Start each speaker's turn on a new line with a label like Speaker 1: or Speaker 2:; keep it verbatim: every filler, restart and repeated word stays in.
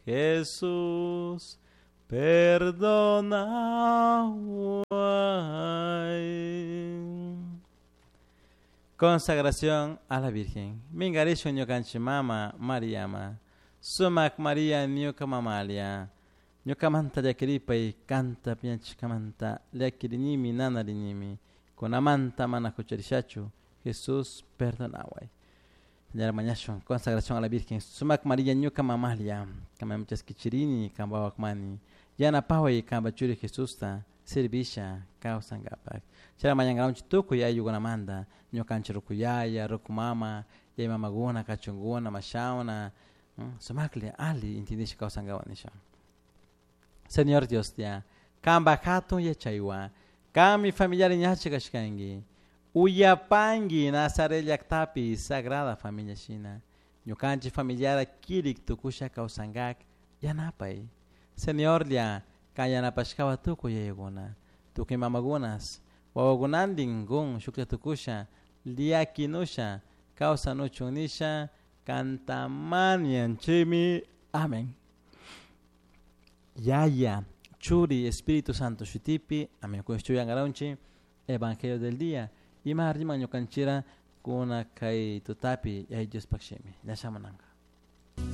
Speaker 1: Jesús, perdona. Consagración a la Virgen. Mingarishun ñukanchik mama Mariama. Sumak María ñuka mamalia. Ñukamanta llakiripay kanta piñachishkamanta llakirinimi nanarinimi. Kunamanta mana hucharishachu. Jesús perdonaway. Señora mañashun consagración a la Virgen. Sumak María ñuka mamalia. Kamamchaskichirini kambawakmani. Yanapaway kamba churi Jesusta servisha kawsankapak. Chayra mañankawanchik tukuy ayllukunamanta ñukanchik rukuyaya, rukumama, yaya mamakuna, kachunkuna, mashawna, sumakli ali intindisha kawsankawan nisha. Señor Dios ya, kanpak hatun yachaywan, kanmi familiar ñachi kashkanki, uyapanki Nazaret llaktapi Sagrada Familia shina, ñukanchik familiara kirik tukusha kawsankak yanapay. Señorlla, kan yanapashkawa tukuy yayakuna, tukuy mamakunas, wawakunantin kun shuklla tukusha, llakinusha, kawsanuchun nisha, kantamanianchimi. Amén. Yaya, Churi, Espíritu Santo shutipi, amén. Kushchuyangaronchi, Evangelio del día. Ima riman ñukanchira kuna kay tutapi yay Dios pakshimi. Ñashamananga.